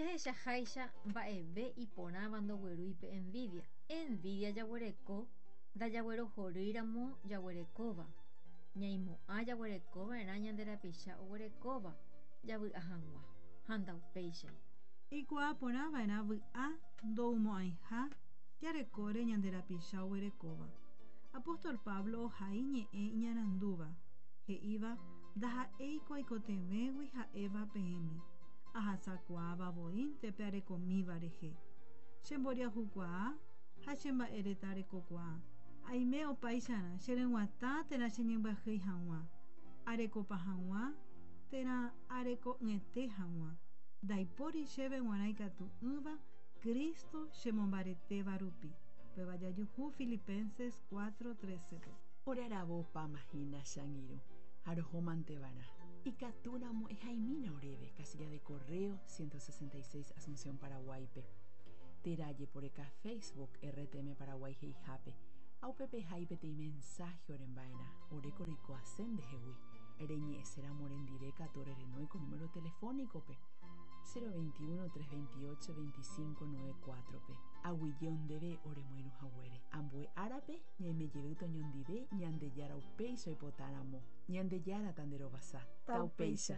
Jahechaháicha mba'eve iporãva ndoguerúi pe envidia. Envidia jaguereko ndajaguerohorýiramo jaguerekóva. Ñaimo'ã jaguerekova'erã ñande rapicha oguerekóva javy'a hag̃ua, ha ndaupéichai. Eikuaa porã va'erã vy'a ndoumo'ãiha jarekóre ñande rapicha oguerekóva. Apóstol Pablo ohai ñe'ẽ iñarandúva, he'íva ndaha'éiko aikotevẽgui ha'éva peẽme, ahasakuaáva voínte pe arekomíva rehe. Che mboriahukuaa ha che mba'ereta rekokuaa. Aime opáicharã che ryguatã térã che ñembyahýi hag̃ua, arekopa hag̃ua térã areko'ỹete hag̃ua. Ndaipóri chéve g̃uarã ikatu'ỹva Cristo chemombaretéva rupi. Upéva jajuhu Filipenses 4:13-pe. Ore aravo opáma hína che angirũ, ha roho manteva'erã. Ikatúramo ehaimína oréve, casilla de correo 166 Asunción Paraguáipe. Térã ajeporeka Facebook RTM Paraguay he'ihápe, ha upépe ehai peteĩ mensaje oremba'erã, oréko roikuaase ndehegui. Reñe'ẽséramo orendive katu orerenói ko número telefónico-pe, 021 328 25 94-pe. Aguyje ndéve oremoirũ haguére. Ambue árape ñaime jeýta oñondive Ñandejára upéicha oipotáramo. Ñandejára tanderovasa. Taupéicha.